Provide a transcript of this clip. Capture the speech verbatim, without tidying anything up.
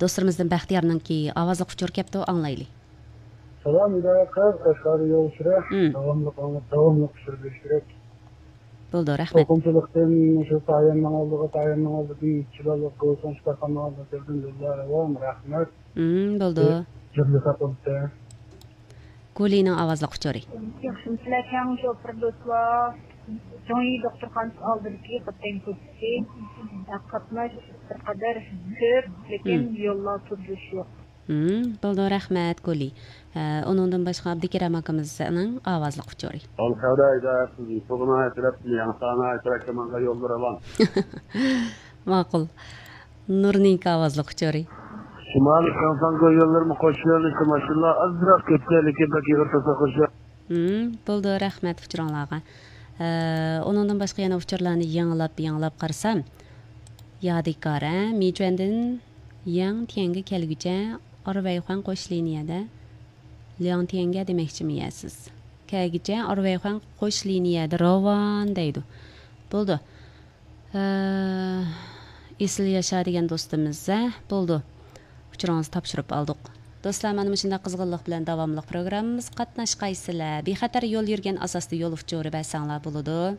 دوستلىرىمىزدىن بەختىيارنىڭكى ئاۋازلىق ئۇچۇر كەپتۇ، ئاڭلايلى. سالام ھىدايەت قىز، قەشقەرگە يول ئۇچۇرى. مم. داۋاملىق ئاڭلاپ، داۋاملىق ئۇچۇر بېرىش كېرەك. بولدى، رەھمەت. توقۇمىچىلىقتىن شۇ تاياننىڭ ئالدىغا، تاياننىڭ ئالدىدىن چىلانلىق گولسون شىپاخانىنىڭ ئالدىغا كىردىم، دىللار راۋان، رەھمەت. مم، بولدى. جىرلىساق بولدى. گۇلىنىڭ ئاۋازلىق ئۇچۇرى. ياخشىمۇسىلەر، كەڭ شوپۇر دوستلار؟ جۇڭيى دوختۇرخانىسى ئالدىدىكى خوتەن كوچىسى. قاتناش بىر قەدەر كۆپ، لېكىن مم. يوللار تۇرۇش يوق. مم، بولدى، رەھمەت، گۇلى. ئە، ئۇنىڭدىن باشقا ئابدۇكېرەم ئاكىمىزنىڭ ئاۋازلىق ئۇچۇرى. ئالقەدە ھىدايەت قىزى، تۇغما تەرەپتىن ياڭسانا تەرەپكە ماڭغان يوللار راۋان. ماقۇل. نۇرنىڭكى ئاۋازلىق ئۇچۇرى. شىمالىي شاڭساڭگو يوللىرىمۇ قوش يۆنىلىشتە ماشىنىلار ئازراق كۆپكەن، لېكىن بەك ئېغىر توسۇق قوش يول. مم، بولدى، رەھمەت ئۇچۇرۇڭلارغا. ئە، ئۇنىڭدىن باشقا يەنە ئۇچۇرلارنى يېڭىلاپ، يېڭىلاپ قارىسام، يادىكار، ھە، مىچۈەندىن ياڭتيەنگە كەلگۈچە ئارۋەيخۇەن قوش لىنىيەدە، لياڭتيەنگە دېمەكچىمۇ يە سىز؟ كەلگۈچە ئارۋەيخۇەن قوش لىنىيەدە راۋان دەيدۇ. بولدى. ئە، ئېسىل ياشا دېگەن دوستىمىز، ھە، بولدى. ئۇچۇرىڭىزنى تاپشۇرۇپ ئالدۇق. دوستلار، مانا مۇشۇنداق قىزغىنلىق بىلەن داۋاملىق پروگراممىمىزغا قاتناشقايسىلەر. بىخەتەر يول يۈرگەن ئاساستا يول ئۇچۇرى بەرسەڭلار بولىدۇ.